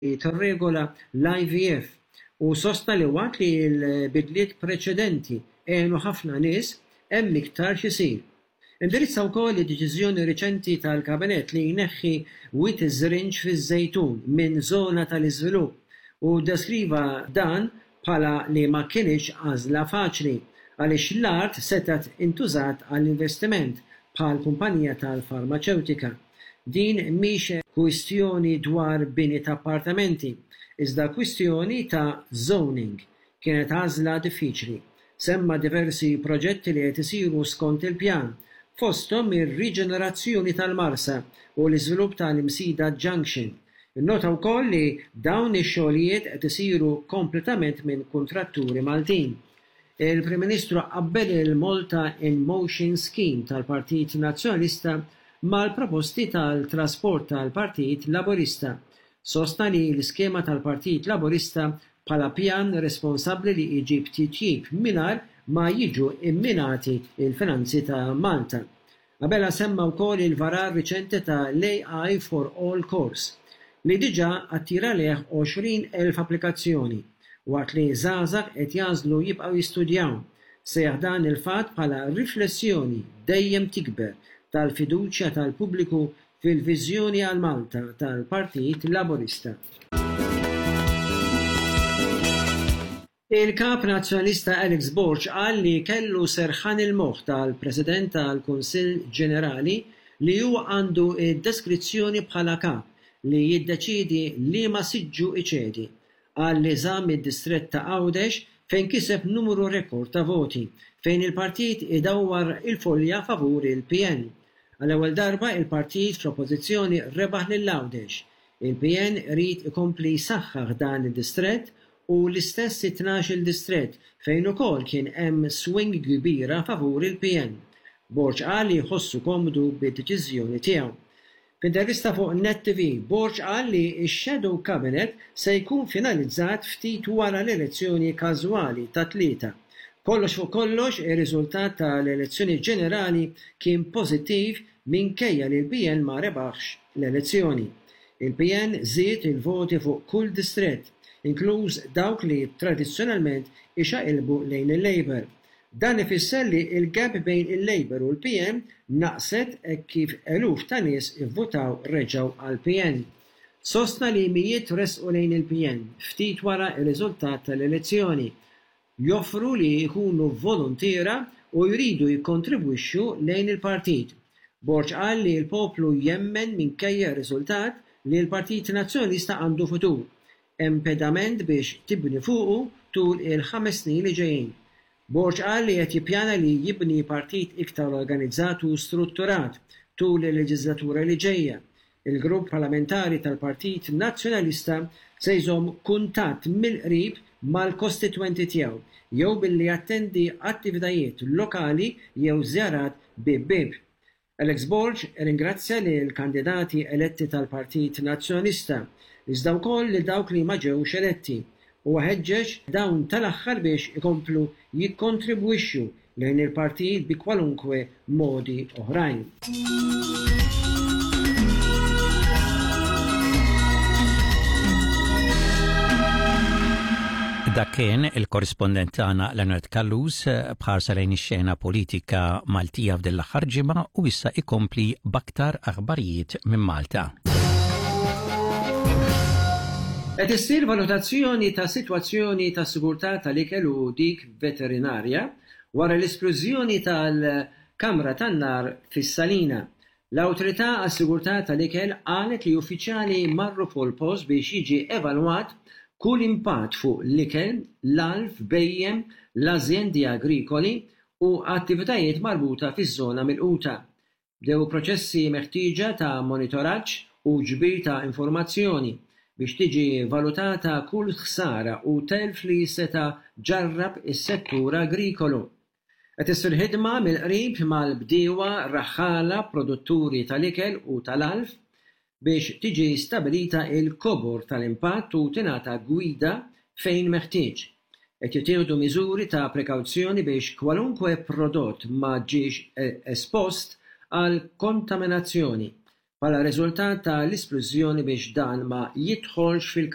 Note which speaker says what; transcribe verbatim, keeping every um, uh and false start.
Speaker 1: tirregola l-I V F u sostna li waqt li l-bidliet preċedenti għenu ħafna nies, hemm iktar x'isir. Indirizza wkoll id-deċiżjoni riċenti tal-Kabinett li jneħħi Wied iż-Żrinġ fiż-Żejtun minn żona tal-iżvilupp u deskriva dan bħala li ma kinitx għażla faċli għaliex l-art setgħet intużat għall-investiment bħal kumpanija tal-farmaċewtika. Din mhix kwistjoni dwar bini ta' appartamenti, iżda kwistjoni ta' zoning. Kienet għażla diffiċli. Semma diversi proġetti li qed isiru skont il-pjan, fosthom ir-riġenerazzjoni tal-Marsa u l-iżvilupp tal-Imsida Junction. Innota wkoll li dawn ix-xogħlijiet qed isiru kompletament minn kuntratturi Maltin. Il-Prim Ministru qabbel il-Malta in Motion Scheme tal-Partit Nazzjonalista mal-proposti tal-trasport tal-Partit Laburista. Sostna li l-iskema tal-Partit Laburista bħala pjan responsabbli li jġib titjib mingħajr ma jiġu imminati il-finanzi ta' Malta. Abela semma wkoll il-varar riċenti ta' l-A I for All Course li diġà attira lejh għoxrin elf applikazzjoni waqt li żgħażagħ qed jagħżlu jibqgħu jistudjaw. Sejjaħ dan il-fatt bħala riflessjoni dejjem tikber tal-fiduċja tal-pubbliku fil-viżjoni għal Malta tal-Partit Laburista. Il-kap nazzjonalista Alex Borg qal li kellu serħan il-moħħ tal-President tal-Kunsill Ġenerali li huwa għandu id-diskrezzjoni bħala kap li jiddeċidi liema siġġu iċedi. Qal li żamm id-distrett ta' Għawdex fejn kiseb numru rekord ta' voti, fejn il-partit idawwar il-folja favur il-P N. Għall-ewwel darba il-partit fl-oppożizzjoni rebaħ lil Għawdex. Il-P N irid ikompli jsaħħaħ dan id-distrett u l-istess tnax-il distrett fejn ukoll kien hemm swing kbira favur il-P N. Borg qal li jħossu komdu bid-deċiżjoni tiegħu. F'intervista fuq Net T V, Borg qal li x-Shadow Cabinet se jkun finalizzat ftit wara l-elezzjoni każwali ta' tlieta. Kollox fuq kollox, ir-riżultat tal-elezzjoni ġenerali kien pożittiv minkejja li l-P N ma rebaħx l-elezzjoni. Il-P N żied il-voti fuq kull distrett, inkluż dawk li tradizzjonalment ixaqilbu lejn il-Labour. Dan ifisser li il-gap bejn il-Labour u l-P N naqset e kif eluf ta' nies ivvutaw reġgħu għal-P N. Sostna li mijiet resqu lejn il-P N ftit wara ir-riżultat tal-elezzjoni. Joffru li jkunu volontiera u jridu jikkontribwixxu lejn il-partit. Borg qal li l-poplu jemmen minkejja r-riżultat li l-Partit Nazzjonalista għandu futur. Hemm pedament biex tibni fuqu tul il-ħames snin li ġejjin. Borg qal li qed jippjana li jibni partit iktar organizzat u strutturat tul il-leġislatura li ġejja. Il-grupp parlamentari tal-Partit Nazzjonalista se jżomm kuntatt mill-qrib mal-kostitwenti tiegħu jew billi jattendi attivitajiet lokali jew żjarat bib bib. Alex Borg ringrazzja lil kandidati eletti tal-Partit Nazzjonalista, iżda wkoll lil dawk li ma ġewx eletti, u ħeġġeġ dawn tal-aħħar biex ikomplu jikkontribwixxu lejn il-partit bi kwalunkwe modi oħrajn.
Speaker 2: Dak kien il-korrispondent tagħna Leonard Callus b'ħarsa lejn ix-xena politika Maltija f'din l-aħħar ġimgħa u issa ikompli b'aktar aħbarijiet minn Malta.
Speaker 1: Qed issir valutazzjoni ta' sitwazzjoni ta' sigurtà tal-ikel u dik veterinarja wara l-esplużjoni tal-kamra tan-nar fis-Salina. L-Awtorità għas-Sigurtà tal-Ikel qalet li uffiċjali marru fuq il-post biex jiġi evalwat kull impatt fuq l-ikel, l-għalf, bhejjem, l-azjendi agrikoli u attivitajiet marbuta fiż-żona milquta. Bdew proċessi meħtieġa ta' monitoraġġ u ġbir ta' informazzjoni biex tiġi valutata kull ħsara u telf li seta' ġarrab is-settur agrikolu. Qed issir ħidma mill-qrib mal-bdiewa, raħħala, produtturi tal-ikel u tal-għalf biex tiġi stabilita il-kobor tal-impatt u tingħata gwida fejn meħtieġ. Qed jittieħdu miżuri ta' prekawzjoni biex kwalunkwe prodott ma ġiex espost għal kontaminazzjoni bħala riżultat tal-isplużjoni biex dan ma jidħolx fil